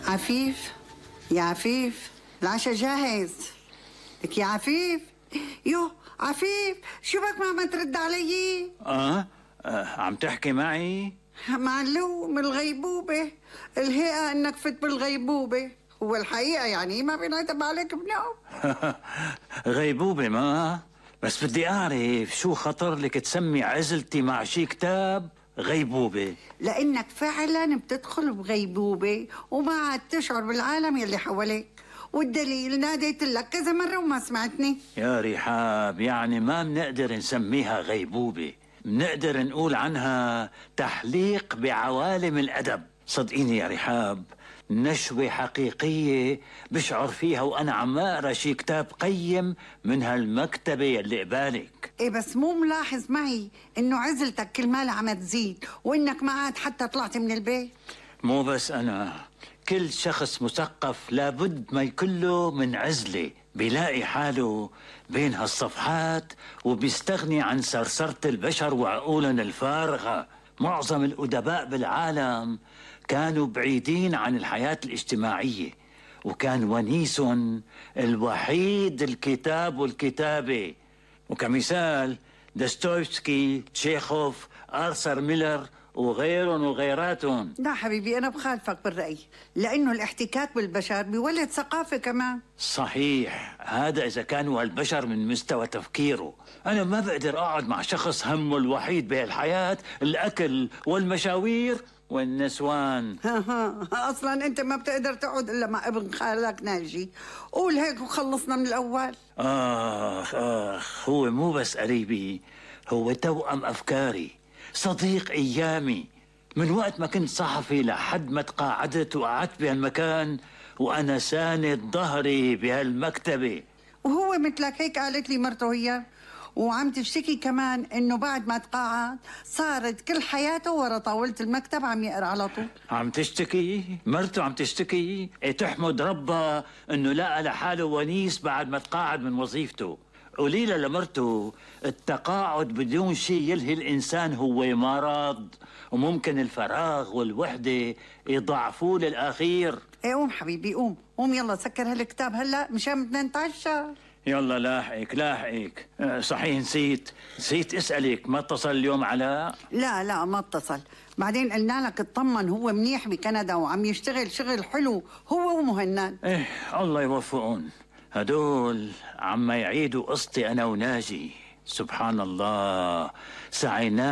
عفيف، يا عفيف العشاء جاهز. لك يا عفيف. يو عفيف، شو بك ما عم ترد علي؟ عم تحكي معي؟ معلوم من الغيبوبة، الهيئة انك فت بالغيبوبة، هو الحقيقة يعني ما بينعتب عليك بنوم. غيبوبة ما بس بدي أعرف شو خطر لك تسمي عزلتي مع شي كتاب غيبوبة؟ لأنك فعلا بتدخل بغيبوبة وما عاد تشعر بالعالم يلي حواليك، والدليل ناديت لك كذا مرة وما سمعتني. يا رحاب، يعني ما بنقدر نسميها غيبوبة، بنقدر نقول عنها تحليق بعوالم الأدب. صدقيني يا رحاب، نشوة حقيقية بشعر فيها وأنا عم أقرأ شي كتاب قيم من هالمكتبة يلي قبالك. إيه بس مو ملاحظ معي إنه عزلتك كل مالها عم تزيد وإنك ما عاد حتى طلعت من البيت؟ مو بس أنا، كل شخص مثقف لابد ما يكون له من عزلة، بيلاقي حاله بين هالصفحات وبيستغني عن سرسرة البشر وعقولهم الفارغة. معظم الأدباء بالعالم كانوا بعيدين عن الحياة الاجتماعية، وكان ونيسهم الوحيد الكتاب والكتابة. وكمثال دوستويفسكي، تشيخوف، آرثر ميلر وغيرهم وغيراتهم. لا حبيبي، أنا بخالفك بالرأي، لأنه الاحتكاك بالبشر بيولد ثقافة كمان. صحيح، هذا إذا كانوا هالبشر من مستوى تفكيره. أنا ما بقدر أقعد مع شخص همه الوحيد بهالحياة الأكل والمشاوير والنسوان. أصلا أنت ما بتقدر تقعد إلا مع ابن خالك ناجي. قول هيك وخلصنا من الأول. هو مو بس قريبي، هو توأم أفكاري، صديق أيامي. من وقت ما كنت صحفي لحد ما تقاعدت وقعدت بهالمكان وأنا ساند ظهري بهالمكتبة. وهو مثلك هيك قالت لي مرته هي، وعم تشتكي كمان انه بعد ما تقاعد صارت كل حياته ورا طاولة المكتب عم يقرا على طول. عم تشتكي؟ مرته عم تشتكي؟ تحمد ربها انه لقى لحاله ونيس بعد ما تقاعد من وظيفته. قولي لها لمرته التقاعد بدون شيء يلهي الانسان هو مرض، وممكن الفراغ والوحدة يضعفوه للأخير. ايه قوم حبيبي، قوم قوم يلا سكر هالكتاب هلا مشان بدنا نتعشى. يلا لاحقك. صحيح نسيت اسألك، ما اتصل اليوم علاء؟ لا ما اتصل، بعدين قلنا لك اطمن، هو منيح بكندا وعم يشتغل شغل حلو هو ومهند. الله يوفقهم، هدول عم يعيدوا قصتي أنا وناجي. سبحان الله، سعينا